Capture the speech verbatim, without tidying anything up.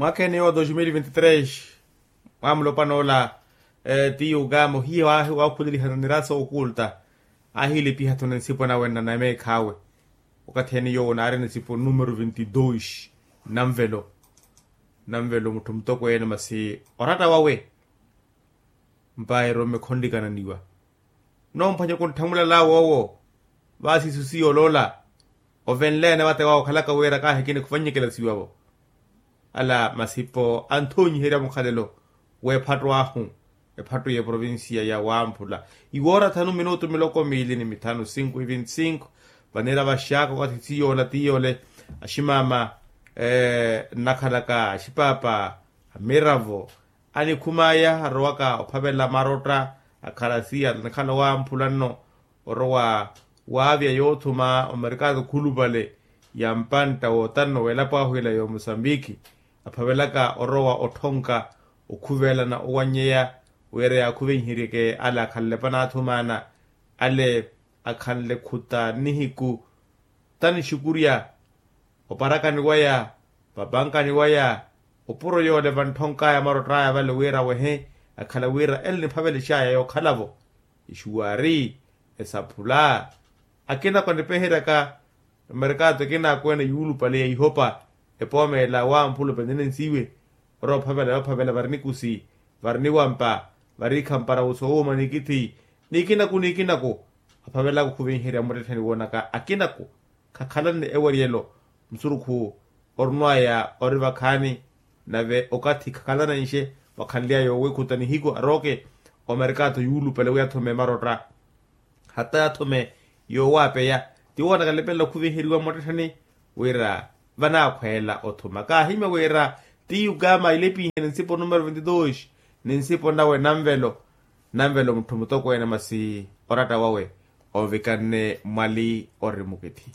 Mwaakha ene yowo dos mil vinti tres, mwamulopwana ola, tiyo ukama ohiya waakhulelihana nirasa okulta, aahilipiha-tho ni nsipo nawe nnameekhawe. Wakathi ene yowo naari nsipo numero vinti dos, nanvelo nanvelo mutthu mutokweene masi oratta wawe. Mpayi romme khonlikananiwa, nomphwanya kuntthemulala woowo. Vaasi isu siyooloola ovenleene vate wawe okhalaka wira kaahikina khuvannyekela siwavo. Ala masipo anthonyiherya mukhalelo w'ephattu ahu, ephattu y'eprovincia ya wamphula. Iwoora thanu minutu miloko miili ni mithanu sinku ivinti sinku. Vaniira vaxaaka okathi tiyoola tiyole, aximaama nnakhalaka axipaapa amiravo anikhumaya arowaka ophavela marotta akhalasiya nikhala wamphula nno, orowa waavya yoothuma omerkaato khulupale ya mpantta wootanno w'elapo ahu ila y'omusambiki. Aphavelaka orowa otthonka okhuvelana owannyeya wira yaakhuvenheryeke ale akhanle panaathumana, ale akhanle khuta nihiku tanixukurya oparakani waya vapankani waya. Opuro yoole vantthonkaaya marott'aya vale wira wehe akhala wira ele niphavelex'aya yookhala-vo. Ixuwaari esaphula akinako anipeheryaka emerkaato ekinaakweene yuulupale ya ihopa. Epoomela wamphula openene nsiwe orowa ophavela yoophavela vari nikusi, vari niwampa, vari ikhampara wuso wuuma nikithi nikinaku nikinaku. Aphavelaka okhuvenherya muttettheni woonaka akinaku khakhalanne eweriyelo musurukhu orunwaya ori vakhaani. Nave okathi khakhalanenxe wakhanly'aya owiikhuta nihiku arooke omerkaato yuulupale wi athome marotta hata athome yoowaapeya. Tiwoonaka nlipelela okhuvenheriwa muttettheni wira vanaakhweela othuma kaahimya wira ti yukama ilepinhe ni nsipo numero vinti dos ni nsipo nawe nanvelo nanvelo mutthu mutokweene masi oratta wawe ovikanne mwali ori mukithi.